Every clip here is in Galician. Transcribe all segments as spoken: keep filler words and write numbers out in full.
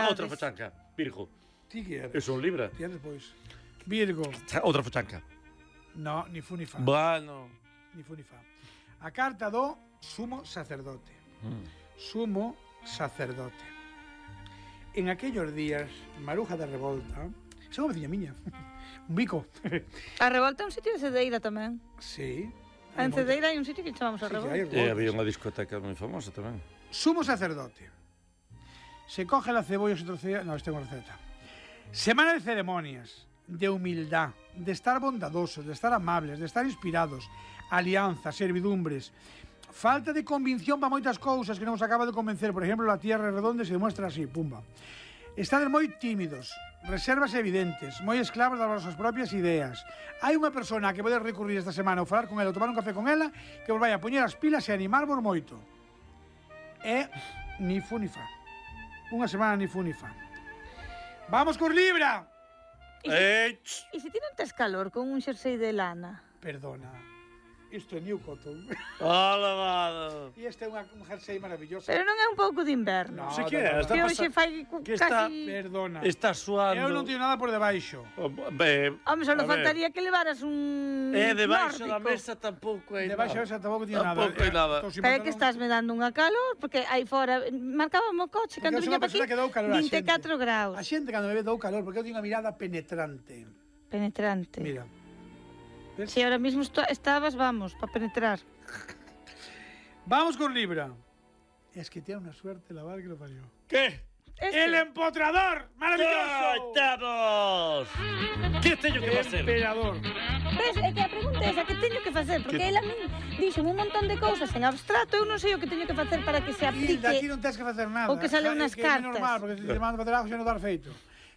outra fachanca. Virgo. Ti que eres? Eu son Libra. Ti eres, pois. Virgo. Outra fachanca. No, ni fu ni fa. Bueno. Ni fu ni fa. A carta do sumo sacerdote. Mm. Sumo sacerdote. En aquellos días, Maruja de Revolta, esa é unha veciña miña, un bico. A Revolta é un sitio de Cedeira tamén. Sí. En Cedeira hai un sitio que chamamos a Sí, Revolta. hai E había unha discoteca moi famosa tamén. Sumo sacerdote. Se coge la cebolla, se trocea... No, esta é unha receta. Semana de ceremonias, de humildad, de estar bondadosos, de estar amables, de estar inspirados, alianza, servidumbres, falta de convicción para moitas cousas que non os acaba de convencer. Por exemplo, la tierra redonda se demuestra así, pumba. Estades moi tímidos, reservas evidentes, moi esclavos das vosas propias ideas. Hai unha persona que podes recurrir esta semana ou falar con ela ou tomar un café con ela que vos vai a poñer as pilas e animarvos moito. É ni fu ni fa. Unha semana ni fu ni fa. Vamos con Libra! Ei, E se ti non tes calor con un xersei de lana? Perdona. Isto é New Cotton. alabado. E este é unha, un jersey maravilloso. Pero non é un pouco de inverno. No, Se que no, é, no, está Que no. hoxe pasando. fai Que está- casi... Perdona. Está suando. Eu non teño nada por debaixo. Oh, be, Home, só a ver. faltaría que levaras un É debaixo da nórdico. mesa tampouco hai Debaixo nada. esa tampouco teño nada. Tampouco hai nada. Entón, se Pero é me que dá un- estás me dando unha calor, porque aí fora marcábamos o coche, Porque cando eu sou viña unha pa aquí, persona que dou calor á vinte e catro xente. graus. A xente cando me ve dou calor, porque eu teño unha mirada penetrante. Penetrante. Mira. Si ahora mismo esto- estabas, vamos, para penetrar. Vamos con Libra. Es que tiene una suerte la madre que lo parió. Que? Este. ¡El empotrador! ¡Maravilloso! Estamos! Que teño que facer? Emperador. Ves, é que a pregunta é esa, que teño que facer? Porque Que- ela a min dixo un montón de cousas en abstracto, eu non sei o que teño que facer para que se Hilda, aplique. ti non tens que facer nada. O que salen Ja, nas que cartas. É normal, porque se te mando facer algo xa non dar feito.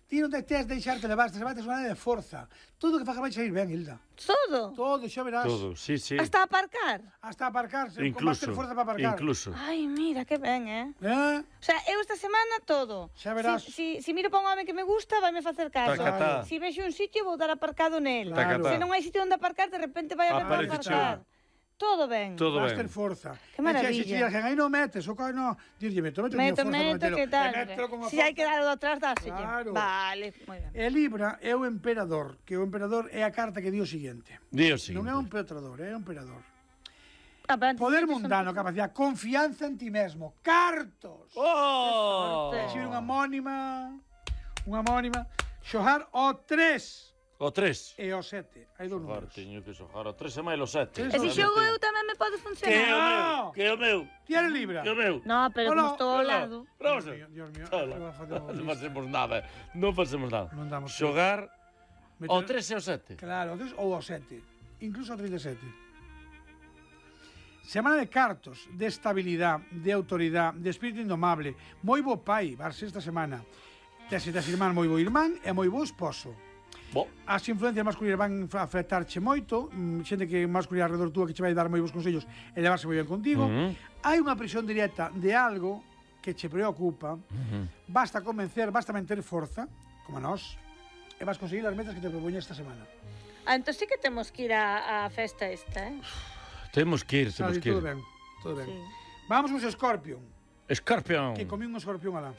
Ti non te tens de deixarte levar, te levantes unha de forza. Todo o que faga vai sair ben, Hilda. Todo. Todo, xa verás. Todo, sí, sí. Hasta aparcar. Hasta aparcarse, con Incluso, máster forza para aparcar. incluso. Ai, mira, que ben, eh? Eh? O sea, eu esta semana todo. Xa verás. Si, si, si miro para un home que me gusta, vaime facer caso. Tacatá. Si vexo un sitio, vou dar aparcado nel. Claro. Se non hai sitio onde aparcar, de repente vai haber para Aparece aparcar. Todo ben. Todo Máster ben. forza. Que maravilla. E se dixen, aí non metes, o coi non. Dirlle, meto, meto, Meto, forza, meto, metelo. que tal? E mételo con a Si hai forza. que dar o atrás, dáselle. Claro. Vale, moi ben. E Libra é o emperador, que o emperador é a carta que di o seguinte. Dios sí. Non é un petrador, é un emperador. Ah, pero antes Poder dixo que son- mundano, capacidade, confianza en ti mesmo, cartos. Oh! Que Recibir unha homónima, unha homónima, xogar o tres O tres. e o sete. Hai dous Xogar, números. teño que xogar o tres e máis o sete. Tres E se Solamente. xogo eu tamén me pode Que é o funcionar. meu? No. Que é o meu? Ti eres Libra. Que é o meu? No, pero Hola, como estou ao Hola. lado. Vamos Dios a mío, Dios mío. Hola. Agora facemos Non isto. facemos nada. Non facemos nada. Non damos Xogar Meter- o tres e o sete. Claro, o tres ou o sete. Incluso o trinta e sete. Semana de cartos, de estabilidade, de autoridade, de espírito indomable. Moi bo pai, vas esta semana. Tes e tes irmán moi bo irmán e moi bo esposo. Bo. As influencias masculinas van a afectarche moito, mm, xente que masculina alrededor túa que che vai dar moi bons consellos e levarse moi ben contigo. Uh -huh. Hai unha presión directa de algo que che preocupa. Uh -huh. Basta convencer, basta manter forza, como a nós, e vas conseguir as metas que te propoñes esta semana. Ah, entón sí que temos que ir á, á festa esta, eh? Temos que ir, Sabe, temos que todo ir. ben, todo ben. Sí. Vamos con Scorpion, Scorpion. que comín un escorpión alá.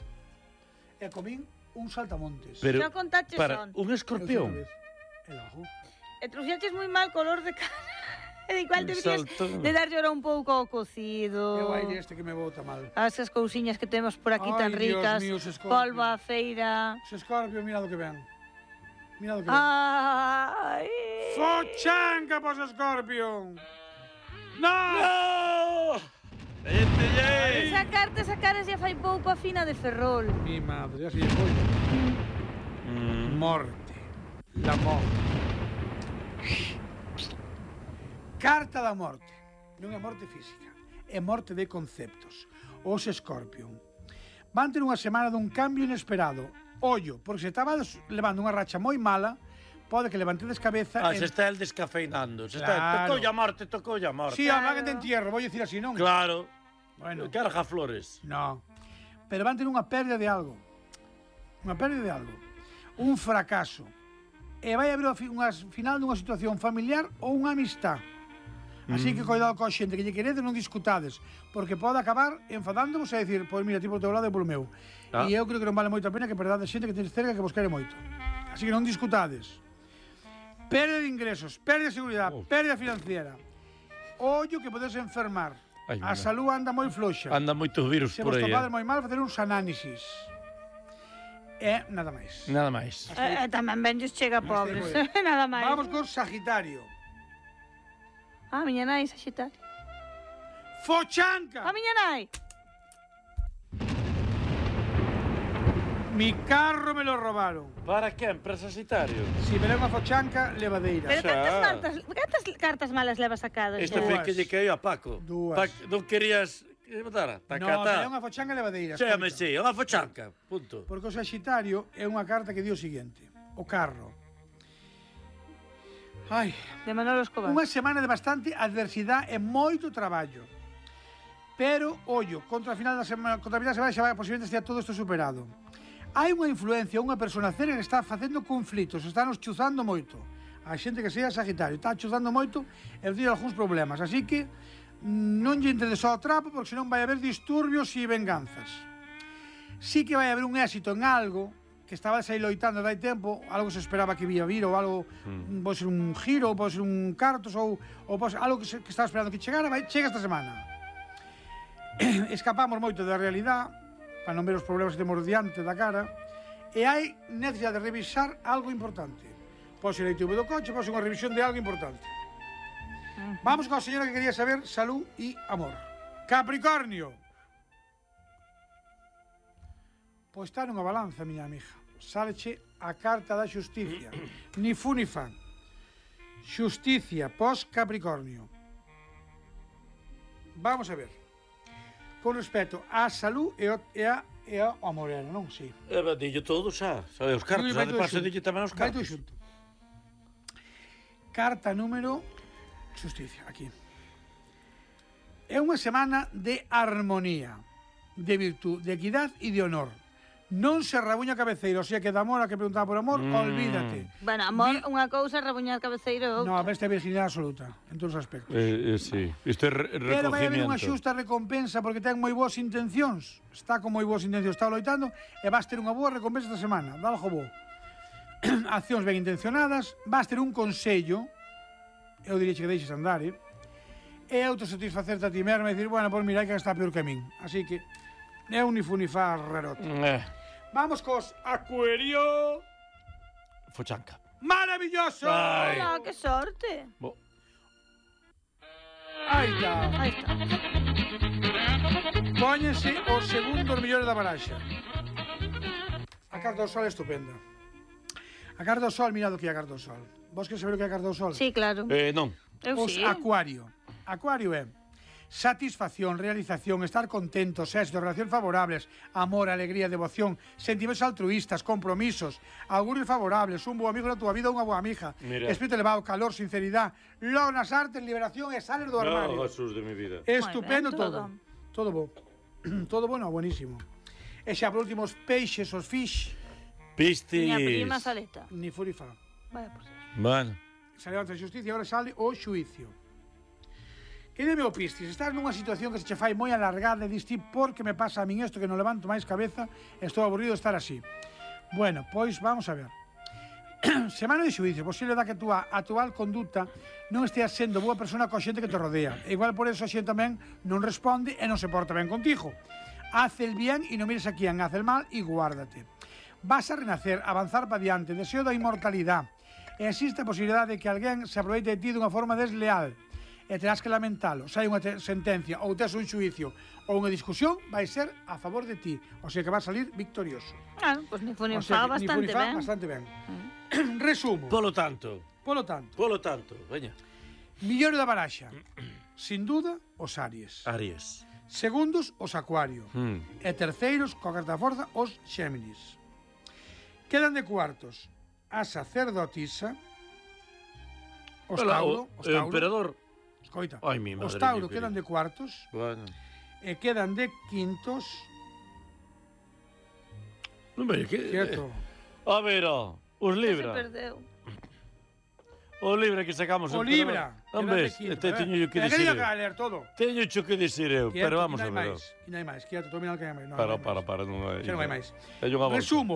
E comín un saltamontes. Pero, Xa contaches para, son. un escorpión. El ajo. E trouxaches moi mal color de cara. E igual Un deberías saltón. de darlle ahora un pouco ao cocido. É o aire este que me bota mal. As esas cousiñas que temos por aquí Ai, tan Dios ricas. mío, ese Scorpion. Polvo á feira. Se Scorpion, mira do que ven. Mira do que ven. Ai. Fochanca pos Scorpion. No! ¡No! ¡Vete Esa carta, esa cara xa fai pouco a fina de Ferrol. Mi madre, así é foi. Mm. Morte. La morte. Carta da morte. Non é morte física, é morte de conceptos. Os Scorpion van ter unha semana dun cambio inesperado. Ollo, porque se estaba levando unha racha moi mala, pode que levantedes cabeza... Ah, en- se está el descafeinando. Se Claro. está, tocou a morte, tocou a morte. Sí, hablan de entierro, vou dicir así, non? Claro. Bueno, Carga flores. no. Pero van ter unha pérdida de algo. Unha pérdida de algo. Un fracaso. E vai haber unha final dunha situación familiar ou unha amistad. Así que cuidado coa xente que lle queredes, non discutades, porque pode acabar enfadándovos e dicir, pois mira, tipo o teu lado e polo meu. Ah. E eu creo que non vale moito a pena que perdades xente que tenes cerca que vos quere moito. Así que non discutades. Pérdida de ingresos, pérdida de seguridade, Oh. pérdida financiera. Ollo que podes enfermar. Ai, A mira. salud anda moi floxa. Anda moitos virus Se por vos aí. topades Eh? moi mal, facer uns análisis. E nada máis. Nada máis. E, e tamén ben lles chega Hasta aí pobres. moi Nada máis. Vamos con Sagitario. Ah, miña nai, Saxitario. Fochanca! A miña nai. Mi carro me lo robaron. Para que, empresa Sagitario? Si me leva fochanca, levadeira. Pero Xa. cantas cartas, cantas cartas malas levas sacado Este xa? foi Dúas. que lle caía a Paco. Dúas. Pa, non querías que botara? No, Tacatá. me unha fochanca levadeira. Chame, escoita. sí, unha fochanca. Punto. Porque o Sagitario é unha carta que di o seguinte. O carro. Ai, De Manolo Escobar. unha semana de bastante adversidade e moito traballo. Pero, ollo, contra a final da semana, contra a final da semana xa vai, posiblemente estea todo isto superado. Hai unha influencia, unha persona cerca que está facendo conflitos, está nos chuzando moito. A xente que sea Sagitario está chuzando moito e tiene algúns problemas. Así que non lle entedes ao trapo, porque senón vai haber disturbios e venganzas. Sí que vai haber un éxito en algo que estaba aí loitando dai tempo, algo que se esperaba que vía vir, ou algo, mm. pode ser un giro, ou pode ser un cartos, ou, ou pode ser algo que, se, que estaba esperando que chegara, vai, chega esta semana. Escapamos moito da realidade, para non ver os problemas que temos diante da cara, e hai necesidade de revisar algo importante. Pode ser a I T V do coche, pode ser unha revisión de algo importante. Vamos con a señora que quería saber salud e amor. Capricornio. Pois está nunha balanza, miña amiga. Sáleche a carta da xusticia. Ni fu ni fa. Xusticia pos Capricornio. Vamos a ver. Con respecto á salud e, o, e, a, e ao amor, era, non? Sí. E va, dillo todo xa. Sabe, os cartos, Vai xa de todo paso xunto. dillo tamén os Vai todo cartos. xunto. Carta número xusticia, aquí. É unha semana de armonía, de virtud, de equidad e de honor. Non se rabuña cabeceiro, o sea que de amor a que preguntaba por amor, Mm. olvídate. Bueno, amor, Di- unha cousa, rabuñar cabeceiro é No, a outra. besta é virginidade absoluta, en todos os aspectos. Eh, eh, sí, isto é re Pero vai haber unha recogimiento. xusta recompensa porque ten moi boas intencións. Está con moi boas intencións, está loitando e vas ter unha boa recompensa esta semana. Dá algo bo. Accións ben intencionadas, vas ter un consello, eu diría que deixes andar, eh? E autosatisfacerte a ti mesmo e dicir, bueno, pois mira, hai que está peor que a min. Así que é un ni fu ni fa rarote. Eh, Vamos cos Acuario. fochanca. Maravilloso! Ai. Hola, que sorte. Bo. Aí está. Aí está. Póñense os segundos millores da baraxa. A carta do sol é estupenda. A carta do sol, mirad o que é a carta do sol. Vos queres saber o que é a carta do sol? Sí, claro. Eh, non. Eu Os sí. Acuario. Acuario é satisfacción, realización, estar contentos, éxito, relacións favorables, amor, alegría, devoción, sentimentos altruistas, compromisos, augurios favorables, un bo amigo na túa vida, unha boa amiga, Mira. espírito elevado, calor, sinceridade, logo nas artes, liberación e sales do armario. No, Jesús de mi vida. Estupendo Moi ben, todo. Todo bo. Todo bueno, buenísimo. E xa por último os peixes, os fish, Pistis. Miña prima Saleta. ni furifa. Vaya por ser. Bueno. Sale a justicia e agora sale o xuicio. Que dime o Piscis, estás nunha situación que se che fai moi alargada e diste por que me pasa a min isto que non levanto máis cabeza, estou aburrido de estar así. Bueno, pois vamos a ver. Semana de xuicio, posible da que a túa actual conduta non esteas sendo boa persona coa xente que te rodea. E igual por eso a xente tamén non responde e non se porta ben contigo. Haz el bien e non mires a quien hace el mal e guárdate. Vas a renacer, avanzar para diante, deseo da inmortalidade. E existe a posibilidade de que alguén se aproveite de ti dunha forma desleal e terás que lamentalo. Se hai unha sentencia ou tes un xuicio ou unha discusión, vai ser a favor de ti. O sea que vas a salir victorioso. Ah, pois ni fu ni O sea fa que, ni bastante funifa, ben. bastante ben. Resumo. Polo tanto. Polo tanto, Polo tanto. Veña. millor da baraxa. Sin duda, os Aries. Aries. Segundos, os Acuario. Mm. E terceiros, coa carta da forza, os Xéminis. Quedan de cuartos a sacerdotisa, os Hola, Tauro, o, os o Tauro, emperador. escoita, Ai, mi os madre Tauro mía, quedan de cuartos Bueno. e quedan de quintos, Non veña, que... cierto, A ver, ó, os Se Libra. perdeu. O libra que sacamos. O en libra. Perón. Non ves, te teño yo que Pero dicir que eu. a ler todo. Teño cho que dicir eu, pero vamos a ver. Que non hai máis, que non hai máis, que ya te estou mirando que non hai máis. Non, Para, non hai para, máis. para, non hai. Xa non hai máis. Teño unha bolsa. Resumo.